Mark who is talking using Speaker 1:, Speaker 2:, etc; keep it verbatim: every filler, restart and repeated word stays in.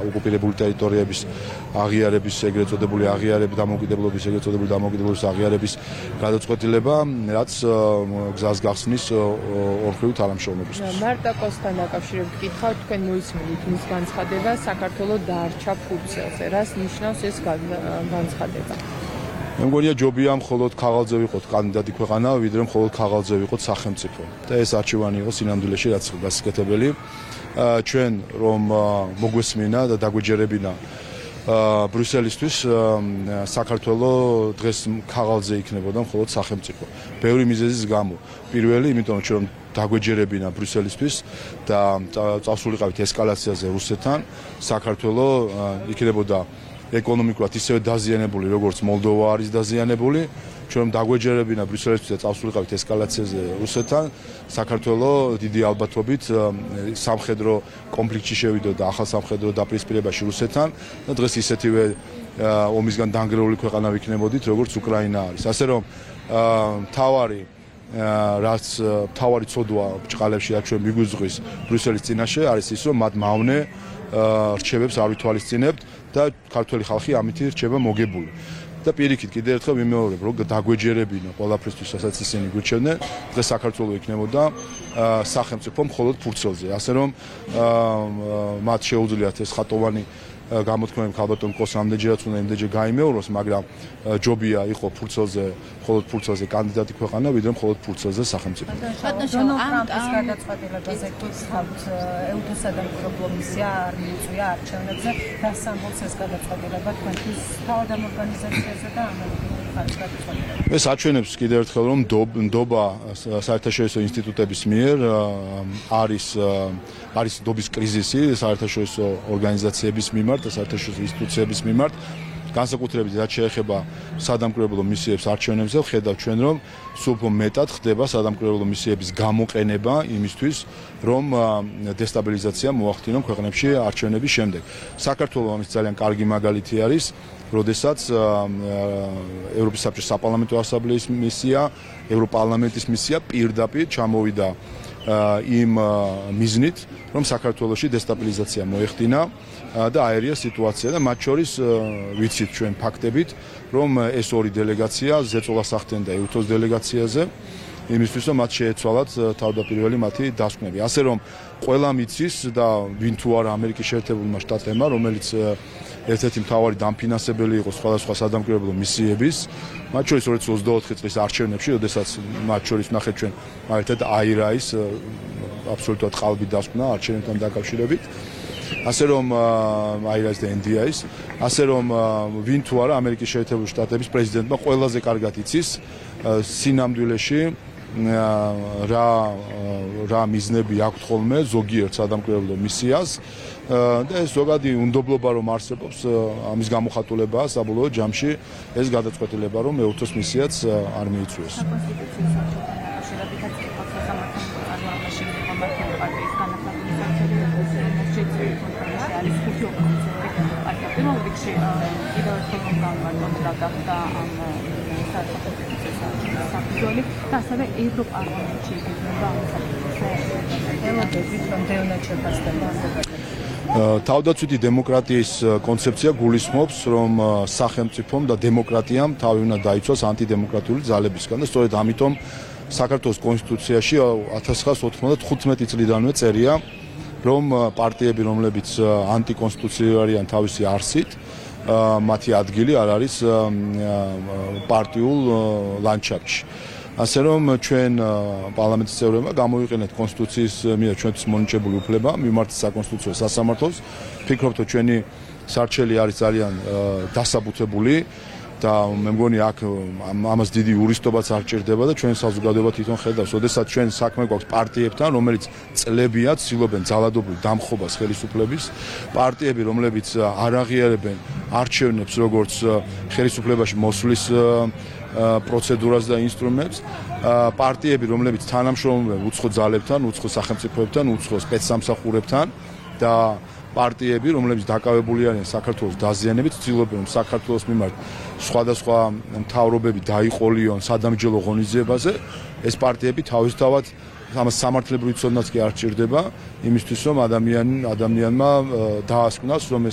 Speaker 1: ოკუპირებული ტერიტორიების აღიარების ეგრეთ წოდებული აღიარების დამოუკიდებლობის ეგრეთ წოდებული დამოუკიდებლობის აღიარების გადაწყვეტილება, რაც გზას გახსნის ორხრივ თანამშრომლობისთვის.
Speaker 2: მარტა კოსთან დაკავშირებით ვკითხავ, თქვენ მოისმენთ მის განცხადება, საქართველოს დაარჩა ფურცელზე. რას ნიშნავს ეს განცხადება?
Speaker 1: მე მგონია ჯობია მხოლოდ ქაღალდზე ვიყოთ კანდიდატი ქვეყანა, ვიდრე მხოლოდ ქაღალდზე ვიყოთ სახელმწიფო. და ეს არჩევანი იყო სინამდვილეში რაც გასაკეთებელი. ჩვენ რომ მოგვესმინა და დაგვეჯერებინა ბრიუსელისთვის საქართველოს დღეს ქაღალდზე იქნებოდა მხოლოდ სახელმწიფო. ბევრი მიზეზის გამო. პირველი, იმიტომ რომ დაგვეჯერებინა ბრიუსელისთვის და წავსულიყავით ესკალაციაზე რუსეთთან, საქართველოს იქნებოდა ეკონომიკურად ისევე დაზიანებული, როგორც მოლდოვა არის დაზიანებული. ჩვენ დაგვეჯერებინა ბრიუსელისთვის და წავსულიყავით ესკალაციაზე რუსეთთან, საქართველოს დიდი ალბათობით სამხედრო კონფლიქტში შევიდოდა ახალ სამხედრო დაპირისპირებაში რუსეთთან და დღეს ისეთივე ომისგან დანგრეული ქვეყანა ვიქნებოდით, როგორც უკრაინა არის. ასე რომ მთავარი რაც მთავარი ცოდვა ბჭყალებში რაც ჩვენ მიგვიზღვის ბრიუსელის წინაშე არის ის, რომ მათ მავნე რჩევებს არ ვითვალისწინებთ და ქართველი ხალხი ამითი რჩება მოგებული. და პირიქით კიდევ ერთხელ ვიმეორებ, რომ დაგვეჯერებინა ყველაფრისთვის, რასაც ისინი გვირჩევდნენ, დღეს საქართველოს იქნებოდა სახელმწიფო მხოლოდ ფურცელზე. ასე რომ მათ შეუძლიათ ეს ხატოვანი გამოთქმები ქალბატონ კოს ამდენჯერაც უნდა იმდენჯერ გაიმეოროს, მაგრამ ჯობია იყო ფურცელზე, მხოლოდ ფურცელზე კანდიდატი ქვეყანა, ვიდრე მხოლოდ ფურცელზე სახელმწიფო.
Speaker 3: დონალდ ტრამპის გადაწყვეტილებაზე გითხავთ, ეუთოსა და მკვლელობ მისია არ მიიწვია არჩევნებზე, რას ამბობს ეს გადაწყვეტილება თქვენთვის თავად ამ ორგანიზაციაზე და ამერიკული ხარის გადაწყვეტილება?
Speaker 1: ეს აჩვენებს კიდევ ერთხელ, რომ ნდობა საერთაშორისო ინსტიტუტების მიერ არის არის ნდობის კრიზისი საერთაშორისო ორგანიზაციების მიმართ და საერთაშორისო ინსტიტუციების მიმართ. განსაკუთრებით რაც შეეხება სადამკვირვებლო მისიებს არჩევნებზე, ხედავთ ჩვენ, რომ სულ უფრო მეტად ხდება სადამკვირვებლო მისიების გამოყენება იმისთვის, რომ დესტაბილიზაცია მოახდინონ ქვეყნებში არჩევნების შემდეგ. საქართველოს ამის ძალიან კარგი მაგალითი არის, როდესაც ევროპის საბჭოს საპარლამენტო ასამბლეის მისია, ევროპარლამენტის მისია პირდაპირ ჩამოვიდა იმ მიზნით, რომ საქართველოში დესტაბილიზაცია მოეხდინა და აერია სიტუაცია და მათ შორის ვიცით ჩვენ ფაქტებით, რომ ეს ორი დელეგაცია ზეწოლას ახდენდა ეუთოს დელეგაციაზე, იმისთვის რომ მათ შეეცვალათ თავდაპირველი მათი დასკვნები. ასე რომ ყველა მიცის და ვინ თუ არა ამერიკის შეერთებულმა შტატებმა, რომელიც ერთ-ერთი მთავარი დამფინანსებელი იყო სხვადასხვა სადამკვირვებლო მისიების, მათ შორის ორი ათას ოცდაოთხი წლის არჩევნებში, როდესაც მათ შორის ნახეთ ჩვენ მაგალითად აირაის აბსოლუტურად ყალბი დასკვნა არჩევნებთან დაკავშირებით. ასე რომ აირაის და ენ დი აის, ასე რომ ვინ თუ არა ამერიკის შეერთებული შტატების პრეზიდენტმა ყველაზე კარგად იცის სინამდვილეში რა რა მიზნები აქვს ხოლმე ზოგიერთ სადამკვირვებლო მისიას და ეს ზოგადი უნდობლობა რომ არსებობს ამის გამოხატულებაა საბოლოო ჯამში ეს გადაწყვეტილება რომ ეუთოს მისიაც არ მიიწვიეს.
Speaker 3: და ასევე ევროპარლამენტში იქნება
Speaker 1: თავდაცვითი დემოკრატიის კონცეფცია გულისხმობს, რომ სახელმწიფომ და დემოკრატიამ თავი უნდა დაიცვას ანტიდემოკრატიული ძალებისგან და სწორედ ამიტომ საქართველოს კონსტიტუციაში ათას ცხრაასი ოთხმოცდათხუთმეტი წლიდანვე წერია, რომ პარტიები, რომლებიც ანტიკონსტიტუციური არიან თავისი არსით, მათი ადგილი არ არის პარტიულ ლანდშაფტში. ასე რომ ჩვენ პარლამენტის წევრებმა გამოვიყენეთ კონსტიტუციის მიერ ჩვენთვის მონიჭებული უფლება მიმართ საკონსტიტუციო სასამართლოს. ვფიქრობთ, რომ ჩვენი სარჩელი არის ძალიან დასაბუთებული და მე მგონი აქ ამას დიდი იურისტობაც არ ჭირდება და ჩვენ საზოგადოება თვითონ ხედავს, როდესაც ჩვენ საქმე გვაქვს პარტიებთან, რომელიც წლებია ცდილობენ ძალადობრივ დამხობას ხელისუფლების, პარტიები, რომლებიც არ აღიარებენ არჩევნებს როგორც ხელისუფლებაში მოსვლის პროცედურას და ინსტრუმენტს, პარტიები, რომლებიც თანამშრომლობენ უცხო ძალებთან, უცხო სახელმწიფოებთან, უცხო სპეცსამსახურებთან და პარტიები, რომლებიც დაკავებული არიან საქართველოს დაზიანებით, ცდილობენ რომ საქართველოს მიმართ სხვადასხვა მთავრობები დაიყოლიონ სადამსჯელო ღონისძიებაზე, ეს პარტიები თავისთავად ამას სამართლებრივი ცოდნაც კი არ ჭირდება იმისთვის რომ ადამიან ადამიანმა დაასკვნას რომ ეს